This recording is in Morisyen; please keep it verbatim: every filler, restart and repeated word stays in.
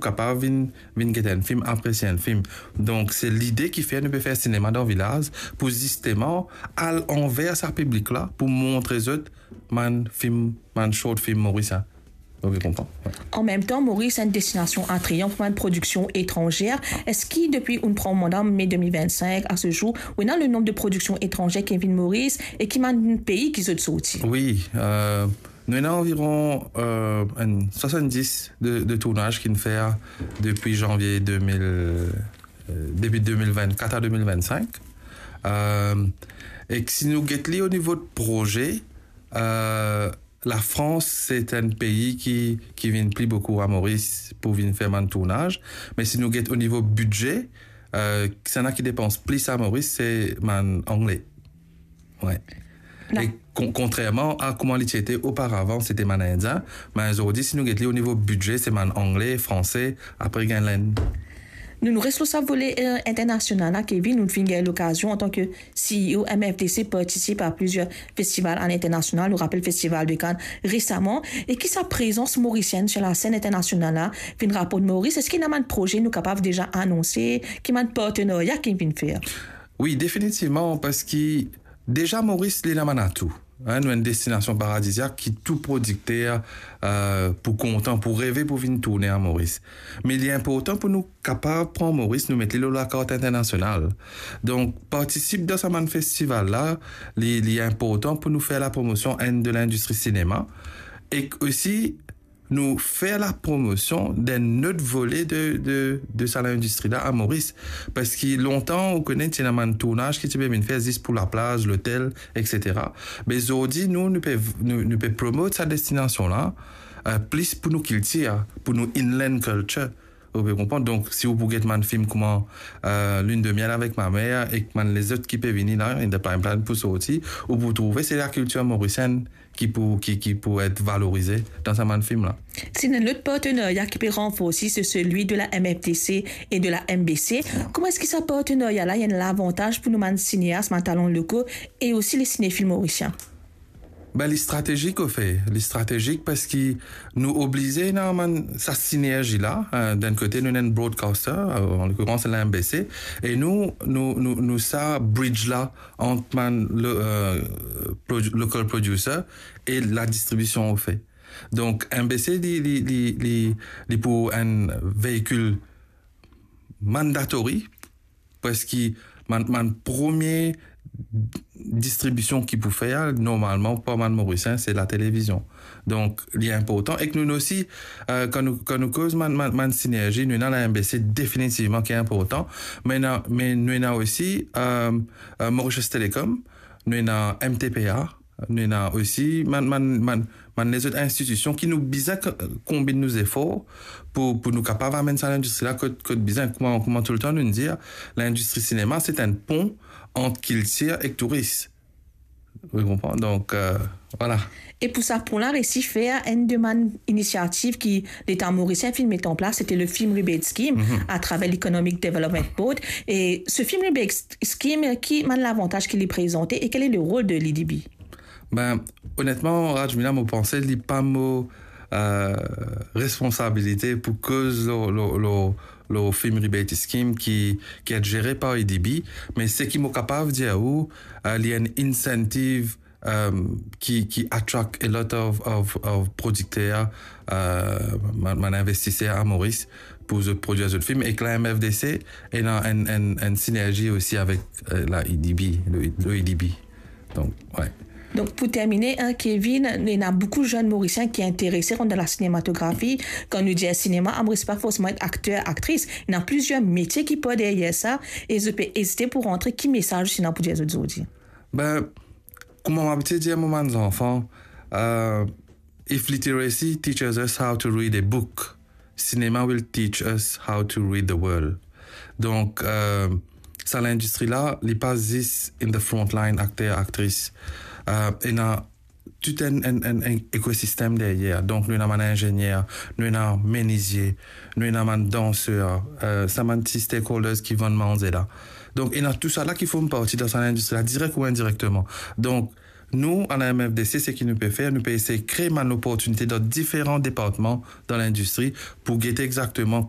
kapav vinn, vinn get enn fim, apresie enn fim. Donk, se lide ki fer nou pe fer sinema dan vilaz, pou zisteman al anver sa piblik la, pou montre zot bann fim, bann short film Moris, hein. Ou pe konpran? Wi. An mem tan, Moris enn destinasion atrayan pou bann prodiksion etranzer. Eski depi ou'nn pran manda me de mil vinn-sink a se zour, ou ena le nonb de prodiksion etranzer ki vinn Moris e ki bann pei ki zot sorti? Wi, euh, nou ena anviron, euh, enn swasanndis de, de tournaz ki'nn fer depi zanvie de mil, euh, depi de mil vinn-kat a de mil vinn-sink. Euh, ek si nou get li o nivo de proze, euh, Lafrans, se enn pei ki, ki vinn pli boukou a Moris pou vinn fer bann tournaz. Me si nou get o nivo bidze, euh, kisannla ki depans plis a Moris, se bann Angle. Wi. La- E kon-, kontrerman a kouma li ti ete oparavan, se ti bann Indien. Me zordi, si nou get li o nivo bidze, se bann Angle, Franse, apre gagn Lenn. Nou, nou res lor sa vole, euh, internasional la, Kevin, nou finn gagn lokazion antan ke C E O M F D C partisip a plizier festival alinternasional. Nou rapel Festival de Cannes resaman. E ki sa prezans morisienn sur la scène internationale la finn raport Moris? Eski ena bann proze nou kapav deza anonse? Ki bann partenarya ki finn fer? Wi, definitivman, parski deza Moris, li ena bann atou. Hein, nou enn destinasion paradiziak ki tou prodikter, euh, pou kontan, pou reve, pou vinn tourne a Moris. Me li inportan pou nou kapav pran Moris, nou met li lor lakart internasional. Donk, partisip dan sa bann festival la, li, li inportan pou nou fer lapromosion enn de lindistri sinema, ek osi nou fer lapromosion d'enn lot vole de, de, de sa lindistri la a Moris. Parski lontan, ou kone, ti ena bann tournaz ki ti pe vinn fer zis pou laplaz, lotel, et cetera. Me zordi, nou, nou pe, nou, nou pe promot sa destinasion la, euh, plis pou nou kiltir, pou nou inland culture. Ou pe konpran? Donk, si ou pou get bann fim kouma, euh, Lune de miel avec ma mère ek bann lezot ki pe vini la, in the pipeline pou sorti, ou pou trouve se lakiltir morisienn ki pou, ki, ki pou et valorize dan sa bann fim la. Si ena lot partenarya ki pe ranforsi, se selwi de la M F D C e de la M B C. Kouma eski sa partenarya la, li enn lavantaz pou nou bann sineas, bann talan loko e osi le sinefil morisien? Ben, li stratezik, anfet. Li stratezik parski nou oblize ena bann sa sinerzi la, euh, d'enn kote, nou ena enn broadcaster, euh, an lokilerans, la M B C, e nou, nou, nou, nou sa bridge la ant bann lo-, euh, produ-, local producer e ladistribision, anfet. Donk, M B C, li, li, li, li, li pou enn veikil mandatory, parski bann, bann premie distribision ki pou fer, normalman, par bann Morisien, se latelevizion. Donk, li inportan. Ek nou osi, euh, kan nou, kan nou koz bann, bann, bann sinerzi, nou ena la M B C definitivman ki inportan. Me ena, me nou ena osi, euh, euh, Mauritius Telecom, nou ena M T P A, nou ena osi bann, bann, bann, bann lezot institision ki nou bizin k-, konbinn nou zefor pou, pou nou kapav amenn sa lindistri la kot, kot bizin. Kouma, kouma toultan nou dir, lindistri sinema, se enn pon ant kiltir ek touris. Ou konpran? Donk, euh, vwala. E pou sa pon la resi fer, enn de bann inisiativ ki Leta morisien finn met an plas, se te le Film Rebate Scheme, mhm, atraver l'Economic Development Board. E se Film Rebate Scheme, ki bann lavantaz ki li prezante e quel est le rôle de l'E D B? Ben, onetman, Rajmila, mo panse li pa mo, euh, responsabilite pou koz lor, lor, lor, lor Film Rebate Scheme ki, ki et zere par E D B, me seki mo kapav dir ou, euh, li enn incentive, euh, ki, ki attract a lot of, of, of prodikter, euh, bann, bann investiser a Moris pou zot prodwir zot fim. Ek la M F D C ena enn, enn, enn sinerzi osi avek, euh, la E D B, le, le E D B. Donk, wi. Donk, pou termine, hein, Kevin, ena boukou zenn Morisien ki interese rant dan la sinematografi. Kan nou dir sinema, amoris pa forseman et akter, aktris. Ena plizier metie ki par deryer sa, e zot pe ezite pou rantre. Ki mesaz ou ena pou dir zot zordi? Ben, kouma mo abitie dir mo bann zanfan, euh, if literacy teaches us how to read a book, cinema will teach us how to read the world. Donk, euh, sa lindistri la, li pa zis in the front line, akter, aktris. Euh, ena tou enn, enn, enn, enn ekosistem deryer. Donk, nou ena bann inzenier, nou ena menizie, nou ena bann danser, euh, sa bann ti stakeholders ki vann manze la. Donk, ena tou sa la ki form parti dan sa lindistri la, direk ou indirekteman. Donk, nou, a la M F D C, seki nou pe fer, nou pe esey kree bann loportinite dan diferan departman dan lindistri pou gete exakteman